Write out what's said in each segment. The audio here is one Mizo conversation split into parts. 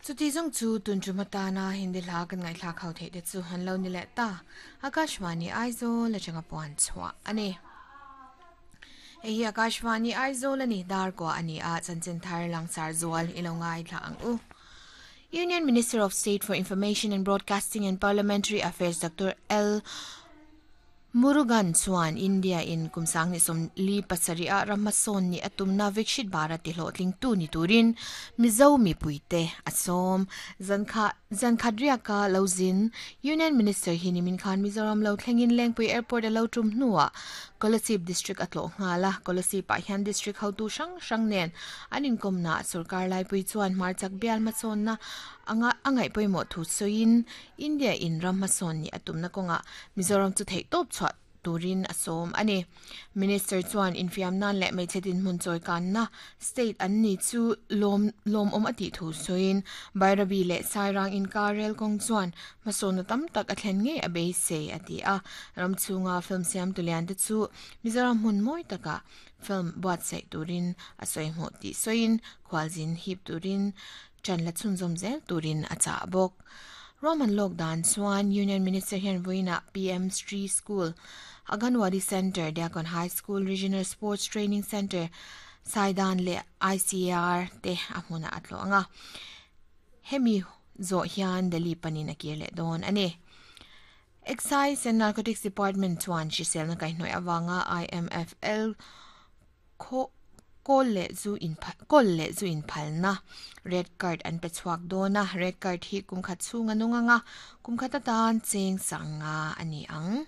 Chuti zawng chu tun tum atana Hindi hla kan ngaihthlak ho theih te chu an lo ni leh ta. Akashvani Aizawl atanga puan chhuah a ni. Hei hi Akashvani Aizawl a ni, Darkua a ni a, chanchin thar langsar zual i lo ngaithla ang u. Union Minister of State for Information and Broadcasting and Parliamentary Affairs Doctor L. Murugan chuan India in kum 2027 ah ram hmasawn nih a tumna Vikshit Bharat ti hlawhtlingtu ni turin Mizo mipuite a sawm. Zankha Zankhat riaka lo zin Union Minister hi nimin khan Mizoram lo thlengin Lengpui Airport a lo tum hnuah Kolasib District a tlawh nghal a, Kolasib ah hian District hotu hrang hrang nen an inkawmnaah sorkar laipui chuan hmarchak bial hmasawnna anga a ngaih pawimawh thu sawiin India in ram hmasawn nih a tumna kawngah Mizoram chu theihtawp chhuah turin a sawm a ni. Minister chuan infiam nan leh hmeichhe dinhmun chawi kanna state an ni chu lawm lawmawm a tih thu sawiin Bairabi leh Sairang inkar rel kawng chuan hmasawnna tam tak a thlen ngei a beisei a ti a. Ram chhunga film siamtu lian te chu Mizoram hmun mawi takah film buatsaih turin a sawi hmuh tih sawiin khualzin hip turin Ṭan la chhunzawm zel turin a chah bawk. Ruahman lawk dan chuan Union Minister hian vawiinah PM Sri School, Aganwadi Centre, Diakon High School, Regional Sports Training Centre, Saidan leh ICAR te a hmunah a tlawh ang a. Hemi zawh hian Delhi panin a kir leh dawn a ni. Excise and Narcotics Department chuan hriselna kaihhnawih avanga IMFL Khaw kawl leh zu in kawl leh zu in phalna red card an pe chhuak dawn a, red card hi kum khat chhung a nung ang a, kum khat atan cheng sanga a ni ang.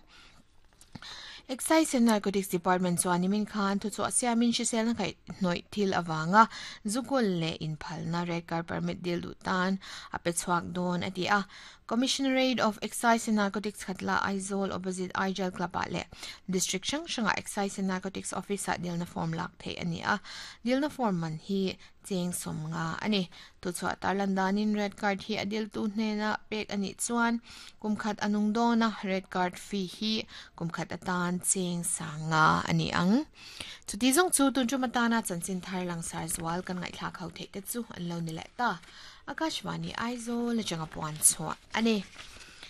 Excise and Narcotics Department chuan nimin khan thuchhuah siamin hriselna kaihhnawih thil avanga zu kawl leh inphalna red card permit dil duh tan a pe chhuak dawn a ti a. Commissionerate of Excise and Narcotics Khatla Aizawl opposite Aijal Club ah leh District hrang hrangah Excise and Narcotics Office ah dilna form lak theih a ni a, dilna form man hi cheng 50 a ni. Thuchhuah tarlan danin Red Card hi a diltu hnena pek a nih chuan kum khat a nung dawn a, Red Card fee hi kum khat atan cheng 50 a ni ang. Chuti zawng chu tun tum atana chanchin thar langsar zual kan ngaihthlak ho theih te chu an lo ni leh ta. Akashvani Aizawl atanga puan chhuah a ni.